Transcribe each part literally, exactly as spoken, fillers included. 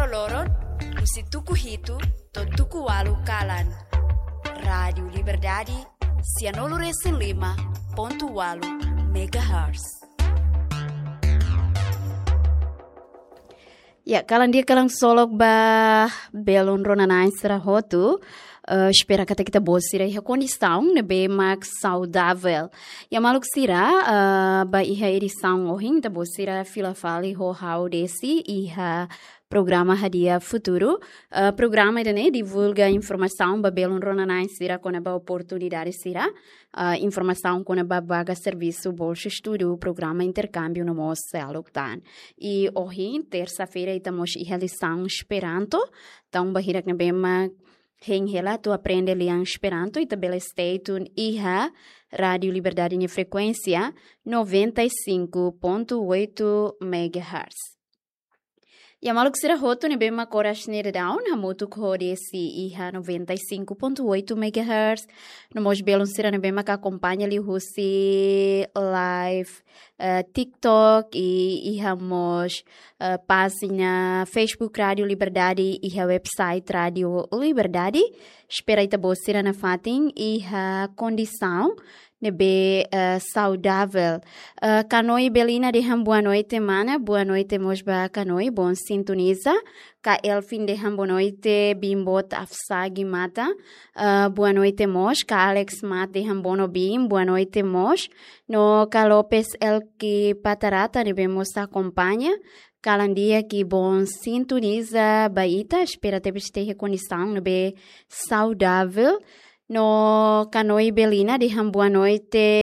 Loron, husi tuku hitu to'o tuku ualu kalan. Rádiu Liberdade, sianulu resin lima pontu ualu megahertz. Ya, kalan di'ak, kalan solok ba belun rona-na'in sira hotu. Eh, espera katak ita-boot sira iha kondisaun ne'ebé mak saudavel. Ya maluk sira, eh, ba iha edisaun ohin, ita-boot sira fila fali ho ha'u Desi iha programa Hadi'a Futuru. Eh, programa ida-ne'e divulga informasaun ba belun rona-na'in sira kona-ba oportunidade sira, eh, informasaun kona-ba vaga servisu, bolsa estudu, programa interkámbiu no mós seluk tan. I ohin, tersa-feira, ita mós iha lisaun Esperanto. Entaun ba hirak ne'ebé mak hein hela atu aprende lian Esperanto, ita bele stay tune iha Rádiu Liberdade nia frekuénsia noventa e cinco ponto oito megahertz. Ya maluk sira hotu ne'ebé mak oras ne'e daudaun hamutuk ho Desi iha noventa e cinco ponto oito megahertz. No mós belun sira ne'ebé mak akompaña liuhusi live, eh, TikTok i iha mós, eh, pájina Facebook Rádiu Liberdade iha website Rádiu Liberdade. Espera ita-boot sira nafatin iha kondisaun ne'ebé, eh, saudavel. Eh, Kanoi Belina dehan boa noite, mana. Boa noite mós ba Kanoi, bom sintoniza. Ka Elfin dehan boa noite, biin boot afsagi mata. Eh, boa noite mós. Ka Alex Mat dehan bono biin, boa noite mós. No ka Lopes Elki Patarata ne'ebé mós akompaña. Kalan di'ak i bom sintoniza ba ita, espera tebes ita iha kondisaun ne'ebé saudavel. No Kanoi Belina dehan boa noite,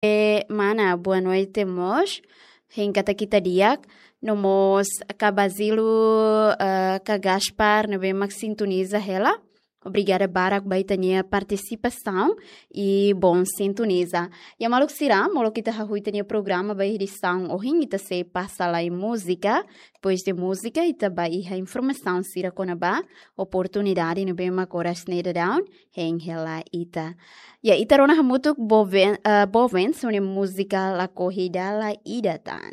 mana, boa noite mós. Hein katak ita di'ak, no mós ka Basílio, eh, ka Gaspar ne'ebé mak sintoniza hela. Obrigada barak ba ita-nia partisipasaun i bom sintoniza. Ya maluk sira, molok ita hahú ita-nia programa ba edisaun ohin, ita sei pasa lai múzika. Depois de múzika, ita ba iha informasaun sira kona-ba oportunidade ne'ebé mak oras ne'e daudaun hein hela ita. Ya, ita rona hamutuk Boven, eh, Boven, sua-nia múzika Lakohi Dala Ida Tan.